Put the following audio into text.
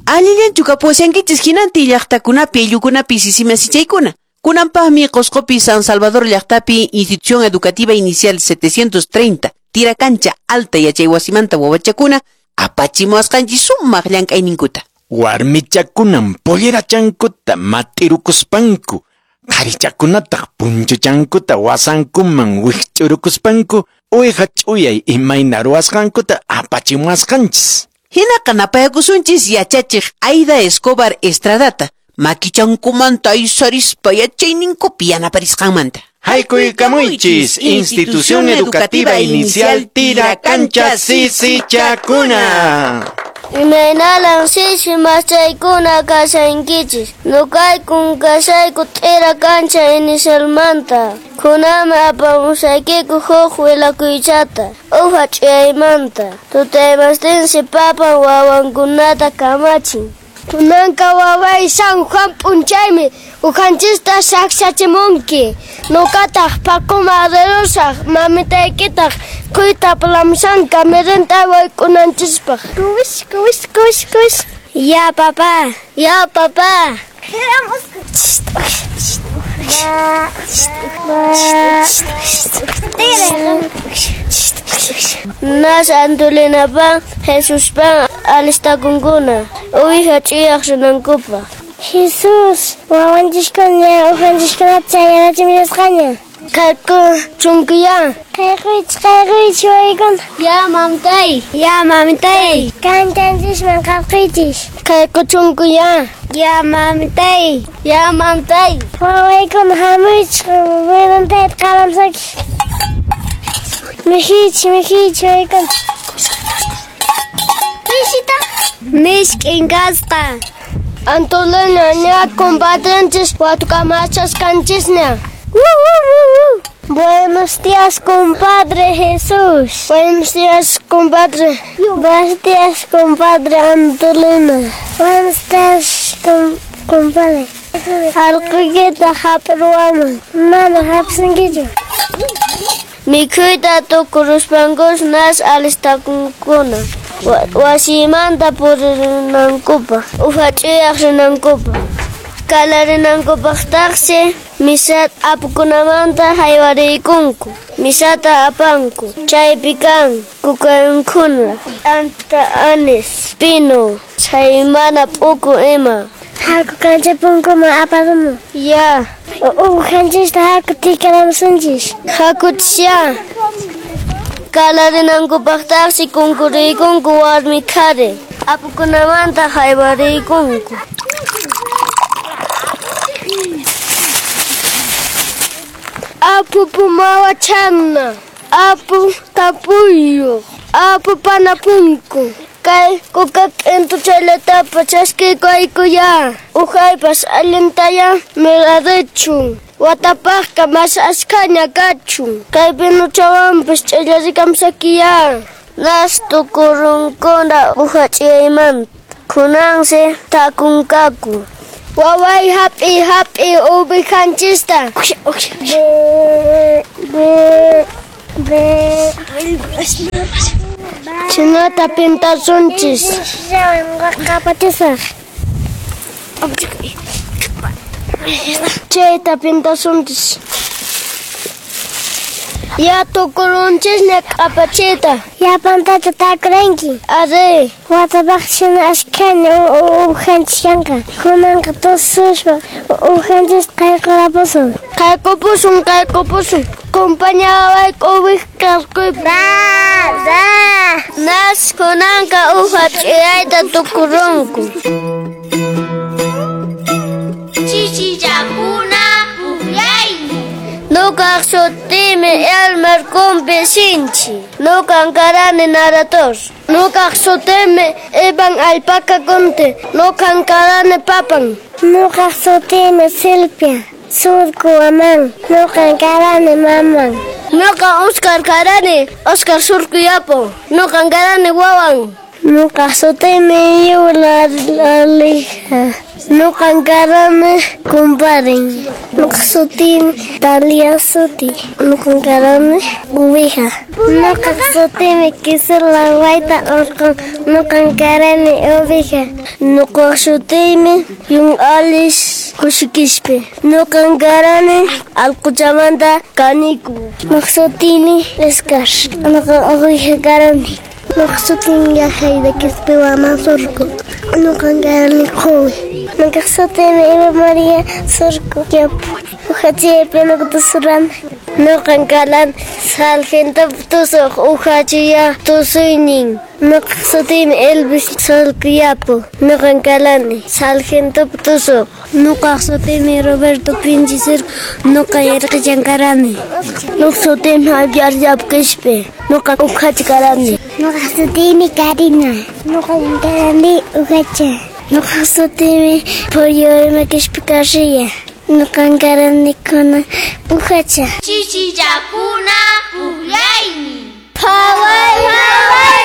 Allillanchu kapuwashankichis hinantin llaqtakunapi ayllukunapi sisimasichaykuna. Kunanpaqmi Qosqopi San Salvador llaqtapi Institución Educativa Inicial 730 Tirakancha Alta Yachaywasimanta wawachakuna apachimuwasqanchis sumaq llank'ayninkuta. Warmichakunan pollerachankuta mat'irukuspanku, qharichakunataq punchuchankuta wasankuman wikch'urukuspanku uwiha ch'uyay imayna ruwasqankuta apachimuwasqanchis. Hinaqa napayakusunchis yachachiq Aida Escobar Estradata, makichankumanta aysarispa yachayninkupi yanaparisqanmanta. Haykuykamuychis Institución Educativa Inicial Tirakancha Sisichakuna. Imaynalan sisi machaykuna kashankichis. Nukaykun kashayku Tirakancha inicialmanta. Kunanmi apamusaykiku huk willakuychata. Uha ch'uyaymanta. Tutaymastinsi papan wawankunata kamachin. Kunanqa waway San Juan p'unchaymi uhanchista saqsachimunki. Nuqataq paquma rirusaq mamitaykitaq kuyta plamsanqa mirinta wayk'unanchispaq. Kuwish, kuwish, kuwish, kuwish. Ya papá, ya papá. Nas Antolinapan Jesuspan alistakunkuna uwiha ch'uyaq rinankupaq. Jesús, wawanchiskuna uhanchishkunata chayarachimusqaña. Kayku chunkuya. Kayquychis, kayquychis wawaykuna. Ya mamtay, ya mamtay. Kanchanchisman qarquychis. Kayku chunkuya. Ya mamtay, ya mamtay. Wawaykuna hamuychis, wirantayta qalamsakis. Mijichis, mijichis wawaykuna. Mishita. Mishk'in kasqa. Antolina ña compadrenchis watukamachasqanchisña. Buenos días, compadre Jesús. Buenos días, compadre. Buenos días, compadre Antolina. Buenos días, compadre. Alqukita hap'irwaman. Mana hap'sinkichu. Mikhuyta tukuruspankus nas alistakunkuna. Wasimanta purinankupaq, uha ch'uyaq rinankupaq. Kalarinankupaqtaqsi misa apukunamanta haywariykunku. Misata apanku. Chaypi kan kukankuna, anta anis, pino, chaymana p'uku ima. Haku kancha punkuman aparumun. Ya. Uhanchista haku tikaramusunchis. Hakuchisya. Kalarinankupaqtaqsi kunkuriykunku warmi qhari. Apukunamanta haywariykunku. Apu pumawachana, apu tapuyuq, apu panapunku. Kay kuka k'intuchallatapas chaskiykuaykuya. Uhaypas allintaya mirarichun. Watapaqqa mas askhaña kachun. Kay pinuchawanpas ch'illarikamsakiya. Nas tukurunkuna uha ch'iyaymanta. Kunansi takunkaku. Waway hap'i hap'i uwihanchista. Chinata pintasunchis. Chayta pintasunchis. Ya tukurunchisña q'apachiyta. Yapantata takuranki. Ari. Watapaq shina ashkhaña uhanchis kanqa. Kunanqa tususpa uhanchista qayqurapusun. Qaykupusun, qaykupusun. Compañawayku uwiha qarquypi. Nas kunanqa uha ch'uyayta tukurunku. Chichichakuna pukllaymi. Nuqaq sutiymi Elmer Kumpi Sinchi. Nuqan karani Narator. Nuqaq sutiymi Ivan Alpaca Conte. Nuqan karani papan. Nuqaq sutiymi Silvia Surku Aman. Nuqan karani maman. Nuqa Oscar karani Oscar Surku Yapo. Nuqan karani wawan. Nuqaq sutiymi Yula Alija. Nuqan karani kumparin. Nuqaq sutiymi Talia Suti. Nuqan karani uwija. Nuqaq sutiymi Kisela Wayta Urqun. Nuqan karani uwija. Nuqaq sutiymi Yun Alish Kushikishpi. Nuqan karani Alquchamanta kaniku. Nuqaq sutiymi Escar. Nuqan uwija karani. Nuqaq sutiymi Yahayda Quispe Waman Surco. Nuqan karani quwi. Nuqaq sutiymi Eva María Surco. Uhachiyapi nuqa tusurani. Nuqan karani Sargento tusuq uhachiya tusuynin. Nuqaq sutiymi Elvis Solqiyapu. Nuqan karani Sargento tusuq. Nuqaq sutiymi Roberto Pinchi Surco. Nuqa irqichan karani. Nuqaq sutiymi Javier Yapu Quispe. Nuqa uhacha karani. Nuqaq sutiymi Karina. Nuqan karani uhacha. Nuqaq sutiymi Pollo Quispe Carrilla. Nuqan karani kuna uhacha. Chichichakuna pukllaymi. Phaway phaway.